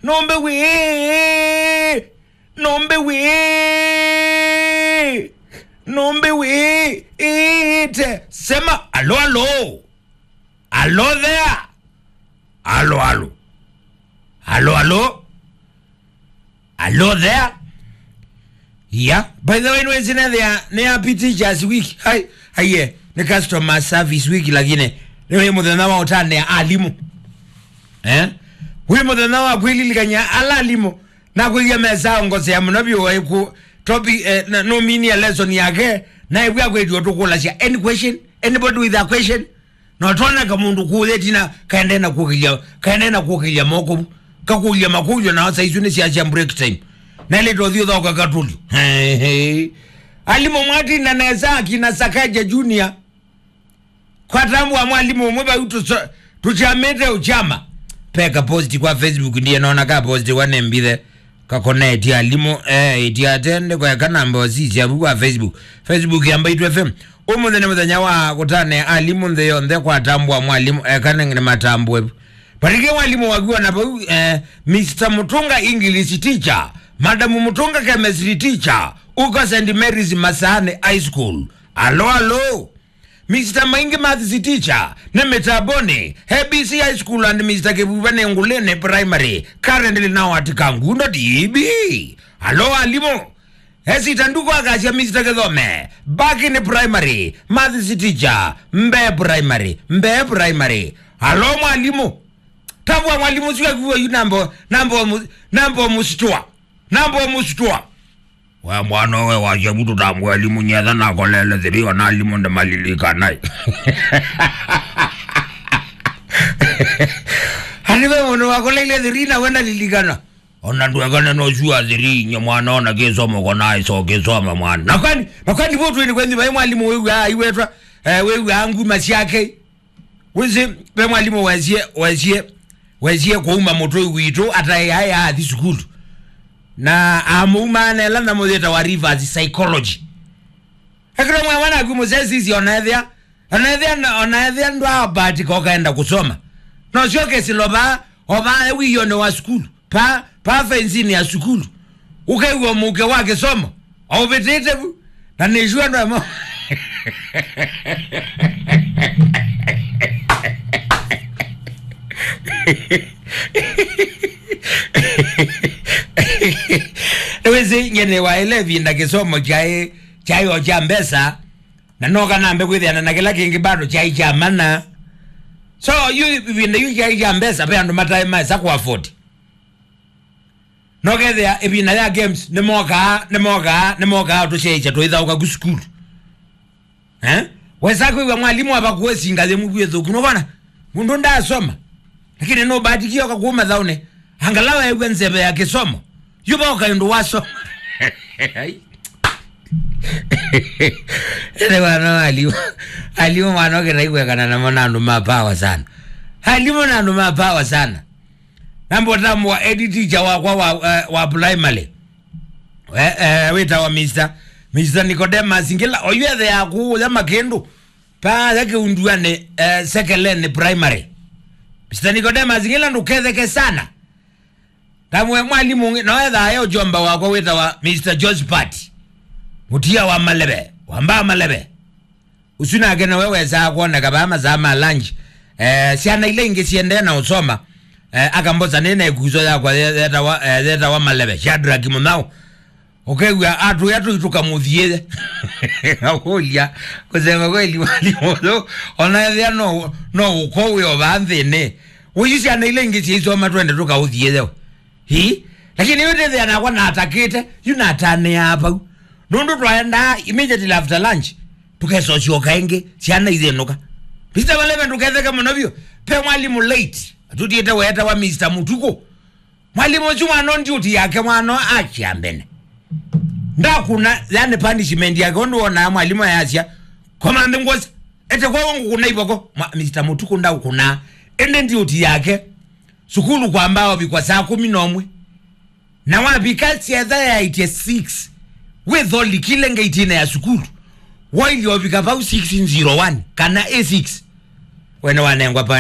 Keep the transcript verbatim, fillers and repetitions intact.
Nũmbĩ wĩ, nũmbĩ wĩ, nũmbĩ wĩ, ĩte. Sema, "Alo, alo. Alo there. Alo, alo. Alo, alo. Alo there." Yeah. By the way, nĩwĩsĩ nethĩa nĩ happy teachers week. Hai, aiye, nĩ customer service week, lakini nĩ mũthenya wa ũtanĩa alimũ. Eh? Wĩ mũthenya wa kwĩlilikany'a ala alimũ. Nakwĩw'a mesa ongosea mũno vyũ, eh, ku topic, eh, na, nũminie lesson yake, na ĩw'a kwĩtio tũkũlasya, "Any question? Anybody with a question?" Na ũtwona kamũndũ kũũthĩti na kaendee na kũkĩlya, kaendee na kũkĩlya moko vu. Kakũlya makũlyo na saa isu nĩ sya, sya break time. Na ĩlĩ tũthi ũthoka katũlyo. Alimũ mwatinda nesa akina Sakaja Junior. Kwatambwa mwalimũ ũmwe vau tũso-, tũchamĩte ũchama. Peka post kwa Facebook, ndiye naona ka post wa nembithe. Kakonetie alimũ, eh, itiate, ndikweka namba osisya vu kwa Facebook. Facebook ya Mbaitu F M. Ũmũnthĩ nĩ mũthenya wa kũtane alimũ nthĩ yonthe, kwatambwa mwalimũ, eka nĩ, nĩ matambwe vu. Patikie mwalimũ waku ona vau, eh, Mister Mutunga English teacher, Madam Mutunga chemistry teacher, uko Saint Mary's Masani High School. Alo, alo. Mister Maingi Maths teacher, nĩ mĩtamboni, A B C High School and Mister Kĩvuva nĩ Ngulĩnĩ Primary, currently now at Kangundo D B. Alo alimũ. Esita nduko akasya Mister Kĩthome, Bakini Primary, Maths teacher, Mbee Primary, Mbee Primary. Alo mwalimũ. Tambwa mwalimũ sio kuwa yu nambo, nambo mu-, nambo mustua. Nambo mustua. We mwana we wasya vutu tambwa alimũ nyetha nakolele three ona alimũ ndamalilikana. Ani we mũndũ wakoleile three na wenda lilikana. Ona ndwekane no sua three nye mwana ona kĩsomo kona iso kĩsoma mwana. Na kwani, na kwani vo twini kwenyu vai mwalimũ wĩw'aa aiwetwa, eh, wĩw'aa nguma syake. Wĩsĩ, ve mwalimũ wesie, wesie, wesie kũuma mũtũi witũ ataĩ aĩ athi sukulu. Na amũumaanela na mũyĩta wa reverse psychology. Ekĩra mwana waku mũsesisi ona ethĩa, ona ethĩa, ona ethĩa ndwaabatika ũkaenda kũsoma. No syoke silo vaa, o vaa wĩyone wa sukulu. Pa, pa fensini ya sukulu. Ũkew'a mũuke wa kĩsomo. Aũvĩtĩte vu. Na nĩsua ndwemo. Nĩwĩsĩ nyene waĩle ĩvinda kĩsomo kyaĩ, kyaĩ o kya mbesa. Na noka nambe kwĩthĩana na kĩla kĩngĩ bado kyaĩ kya mana. So, yu ĩvinda yu kyaĩ kya mbesa, ve andũ mataĩ maesa kũ afford. Nokethĩa ĩvinda ya games, nĩmokaa, nĩmokaa, nĩmokaa tũsyaĩkya tũithaũka ku sukulu. Eh? Wesa kwĩw'a mwalimũ ava kuesinga yĩ mũkwĩthũku. Nũvona? Mũndũ ndaasoma. Lakini nũbatikie oka kuma thaũnĩ. Angalau ew'a nzeve ya kĩsomo. Yu voka ĩndũ wasoma. Ai. Ene wana alimũ. Alimũ mwana ũkĩta ikwekana namo na andũ ma power sana. Alimũ na andũ ma power sana. Namba ũtambwa head teacher wakwa wa, eh, wa primary. Eh, eh, wĩtawa Mister, Mister Nicodemus Ngila, oyu ethea kũũya makĩndũ. Paya kĩunduanĩ, eh, Sekeleni Primary. Mister Nicodemus Ngila ndũketheke sana. Ndamwe mwalimũ ũngĩ, no ethaa yo jomba wakwa wĩtawa Mister Josephat. Mũtia wa Maleve, wa Mbaa Maleve. Ũsu nake nowe wesaa kwoneka vaa masaa ma lunch. Eh, syana ila ingĩ siendee na ũsoma. Eh, akambosa nĩ na ĩkuso yakwa ye-, yetawa, eh, yetawa Maleve, Shadrack Mũnyao. Ũkew'a atũya tũitũka mũthiĩe. Akũlya, kusema kweli mwalimũ ũyũ, ona ethĩa no, no ũko wĩ o vaa nthĩnĩ. Ũyu syana ila ingĩ syaisoma twende tũkaũthiĩe. Hi? Lakini yu ndĩthĩa nakwa natakĩte, yu natanĩaa vau. Nũndũ twaendaa immediately after lunch, tũkesosyoka ĩngĩ, syana ithĩnũka. Mister Maleve ndũketheke mũno vyũ, pe mwalimũ late, atũtiĩte weetawa Mister Mũtukũ. Mwalimũ ũsu mwana ndiuti yake mwana akya mbene. Ndakuna, yani punishment yake, ũndũ wonaa mwalimũ ayasya, "Koma nthĩ ngwosa, ete kwa ngũkũna ivoko." Mwa-, Mister Mũtukũ ndaũkũnaa. Ĩndĩ ndiuti yake, sukulu kwamba ũvikwa saa kũmi na ũmwe. Na wavika syetha yaĩtye six. Wĩtholikile ngeitine ya sukulu. Wailye ũvika vau six zero one, kana A six. Wene wanengwa pa